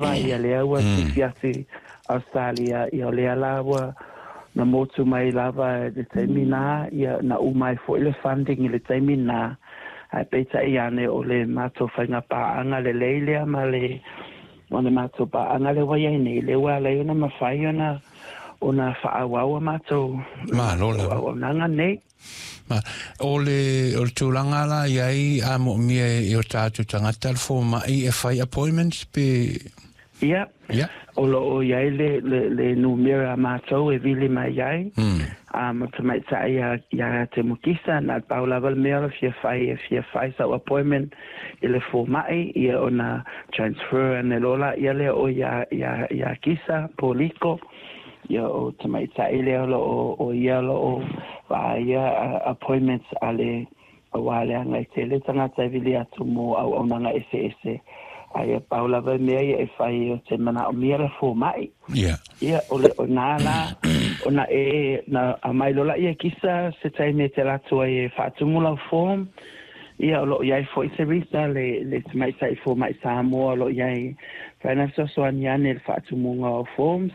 Ia lea ua sifi atu i Ausetalia, ia o lea la ua na motu mai lava i le taimi na, ia na uma ai foi le funding i le taimi na, ae peitai ane o le matou faiga paaga lelei lea ma le ma le matou paaga lea ua i ai nei, lea ua ala ai ona mafai ona ona faaauau a matou Malo lava. auaunaga nei. Ma, o le, o le tulaga la i ai a moomia e o tātou tagata le fomai e fai appointments pe? Ia, o lo o i ai le numera a matou e vili mai ai. Ma tamaitai ia te Mukisa, na pau lava le mea o le fia fai e fia fai sau appointment i le fomai, ia ona transfer ane loa laia lea o ia Kisa Poliko. Ia o tamaitai lea o lo o o ia o lo o vaaia appointments a le aua leaga e tele tagata e vili atu mo auaunaga eseese. Ae ia pau lava mea ia e fai o te manaomia le fomai. Ia o le o nā la ona e na aumai loa laia e Kisa se taimi e te alu atu ai e faatumu lau form. Ia o lo o i ai foi Teresa le tamaitai fomai Samoa o lo o i ai fai na fesoasoani ane i le faatumuga o forms.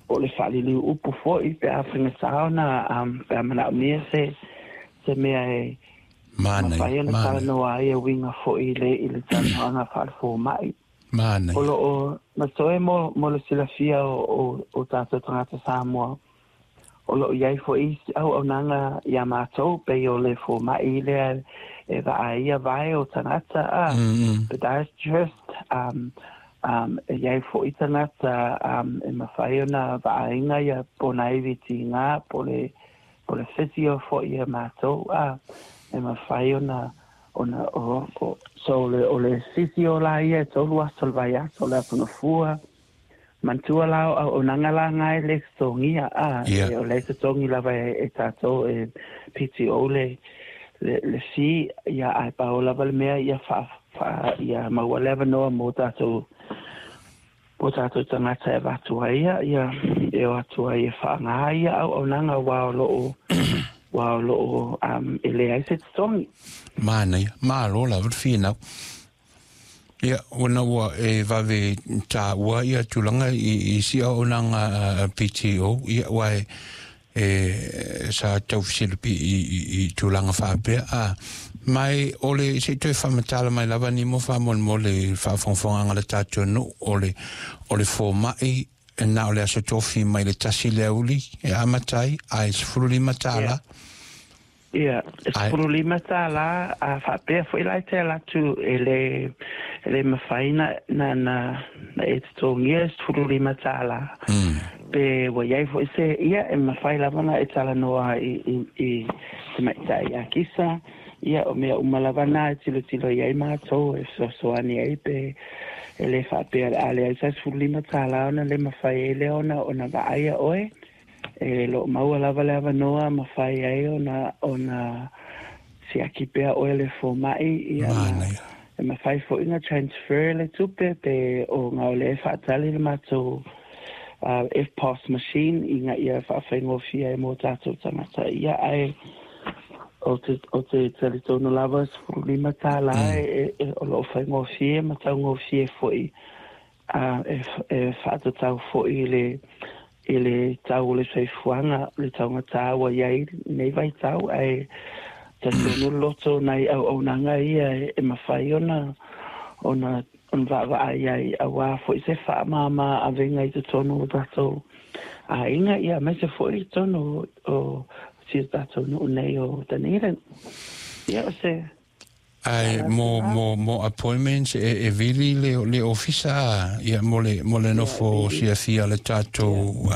O le faaliliu upu foi pe a faigata ona pe a manaomia se mea e mafai ona talanoa ai e uiga foi i le talanoaga faale-fomai. O lo o matoe mo le silafia o tatou tagata Samoa. O lo o i ai foi isi auaunaga ia matou pei o le fomai lea e vaaia vae o tagata a podiatrist, e i ai foi tagata e mafai ona vaaiga ia ponaivi tiga po le physio foi ia matou a e mafai ona o so o le physio la ia e 3 aso o le vaiaso o le aso Gafua. Manatua la o auaunaga la gae le totogia a e o le totogi lava e tatou e PTO le fee ia, ae pau lava le mea ia faa, faa ia maua le avanoa mo tatou tagata e avatu ai ia e o atu ai e faaaga ia auaunaga aua o lo o e leai se totogi. Manaia, malo lava le finau. Ia, ona ua e vave tāua ia tulaga i si auaunaga a PTO, ia ua e sa tau fesilipi i tulaga faapea a mai o le se i toe faamatala mai lava ni mo faamolemole i faafogafogaaga le tatou nuu o le fomai e na o le aso tofi mai le 1 le aoauli e amata ai ae $15. Ia, e $15 a faapea foi la e te alu atu e le mafai na e totogia e $15. Pe ua i ai foi se ia e mafai lava na e talanoa i tamaitai ia Kisa. Ia o mea uma lava na e tilotilo i ai matou e fesoasoani ai pe e le faapea a leai sa $15 ona le mafai ai lea ona vaaia oe. E lo o maua lava le avanoa mafai ai ona siaki pea oe le fomai ia na, e mafai foi na transfer le tupe pe o ngā o le faatali le matou EFTPOS machine ina ia faafaigofie ai mo tatou tagata ia, ae o te talitonu lava $15 e o lo o faigofie ma taugofie foi e faatatau foi i le tau o le soifuaga le taugata ua i ai nei vaitau, ae talitonu le loto nai auaunaga ia e mafai ona vaavaai ai aua foi se faamama avega i totonu o tatou aiga ia aemaise foi i totonu o si o tatou nuu nei o Dunedin. Ia o se Ae mo appointments e vili le ofisa ia mo le nofo siafia le tatou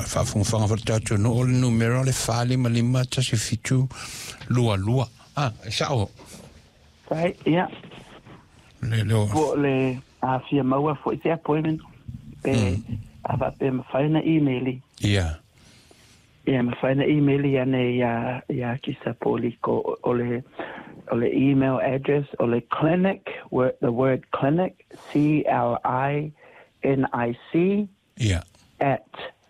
faafogafoga foi le tatou nuu o le numera o le 455 1722 a e sao? Right, ia. Le o Po o le a fia maua foi se appointment pe a faapea mafai na email. Ia mafai na email ane ia Kisa Poliko o le email address o le clinic, word, the word clinic, clinic at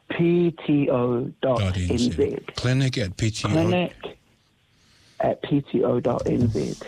pto.nz. clinic@pto clinic@pto.nz.